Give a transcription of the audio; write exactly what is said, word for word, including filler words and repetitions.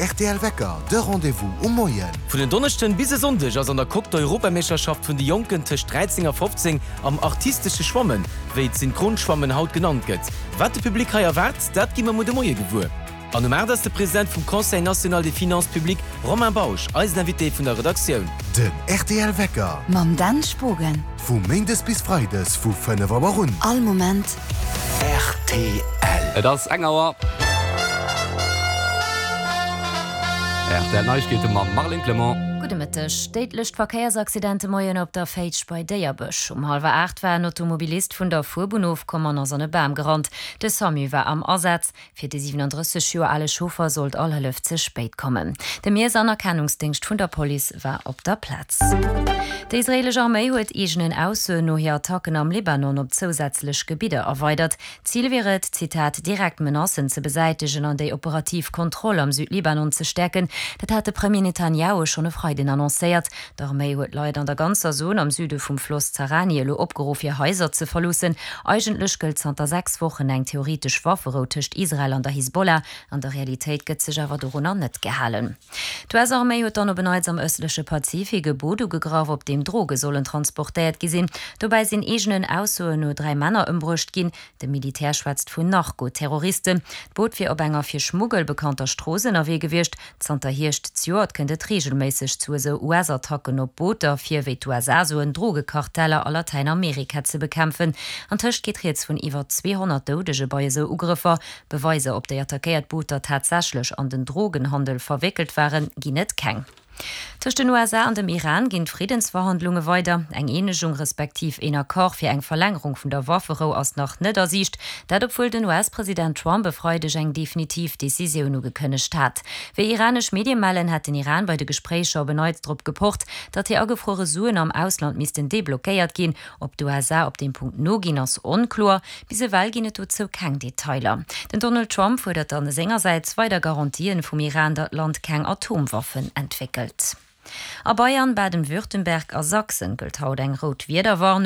rtl Wecker, de Rendez-vous um Moien. Vun en Donneschden bis e Sonndeg ass an der Coque d'Europameeschterschaft vun de Jonken tëscht dräizéng a fofzéng am artistesche Schwammen, wéi d'Synchronschwammen haut genannt gëtt. Wat de Public hei erwaart, dat gi mer muer de Moie gewuer. An um aacht ass de President vum Conseil national des finances publiques, Romain Bausch, eisen Invité vun der Redaktioun. Den rtl Wecker. Mam Dan Spogen. Vu méindes bis freides vu fënnef Auer un. All Moment. Rtl. Et ass eng Auer. Rtl Neiegkeete mam Marlène Clement. Gudde Mëtteg. Déidlecht Verkéiersaccident de Moien op der Féitsch bei Déierbech. Um hallwer aacht war en Automobilist vun der Fuerbunn ofkomm an ass an e Bam gerannt. De Samu war am Asaz. Fir de siwenandrësseg Joer ale Chauffer sollt all Hëllef ze spéit kommen. De Miess an Erkennungsdéngscht vun der Police war op der Plaz. Déi israeelesch Arméi huet eegenen Aussoen no hir Attacken am Libanon op zousätzlech Gebidder erweidert. Zil wier et, Zitat, direkt Menacen ze besäitegen an déi operativ Kontroll am Südlibanon ze stäerken. Dat hat de Premier Netanjahu schonn e Freiden annoncéiert. D'Arméi huet d'Leit an der ganzer Zon am Süde vum Floss Zarani elo opgeruff hir Haiser ze verloossen. Eigentlech gëllt zanter sechs Wochen eng theoretesch Wafferou tëscht Israel an der Hisbollah. An der Realitéit gëtt sech awer dorunner net gehalen. D'U S-Arméi huet dann op en Neits am ëstleche Pazifik e Boot ugegraff, op deem Droge sollen transportéiert gi sinn. Dobäi sinn eegenen Aussoen no dräi Männer ëmbruecht ginn. De Militär schwätzt vun Narco-Terroristen. D'Boot wier op enger fir Schmuggel bekannter Strooss ënnerwee gewiescht. Zanter Hierscht zejoert kënnt et reegelméisseg zu esou U S-Attacken op Booter, fir, wéi d'U S A soen, Drogekarteller a Latäinamerika ze bekämpfen. Antëscht geet rieds vun iwwer zweehonnert Doudege bei esou Ugrëffer. Beweiser, ob déi attackéiert Booter tatsächlech an den Drogenhandel verwéckelt waren, ginn et keng. Tëscht den U S A an dem Iran ginn d'Friddensverhandlunge weider. Eng Eenegung respektiv een Accord fir eng Verlängerung vun der Wafferou ass nach net a Siicht. Dat obwuel den U S-President Trump e Freideg eng definitiv Decisioun ugekënnegt hat. Wéi iranesch Medie mellen, hätt den Iran bei de Gespréicher op en Neits drop gepocht, datt hir agefruere Suen am Ausland missten deblockéiert ginn. Ob d'U S A op deem Punkt noginn, ass onkloer. Bis ewell ginn et dozou keng Detailer. Den Donald Trump fuerdert dann sengersäits weider Garantien vum Iran, datt d'Land keng Atomwaffen entwéckelt. A Bayern, Baden-Württemberg a Sachsen gëllt haut eng rout Wiederwarnung.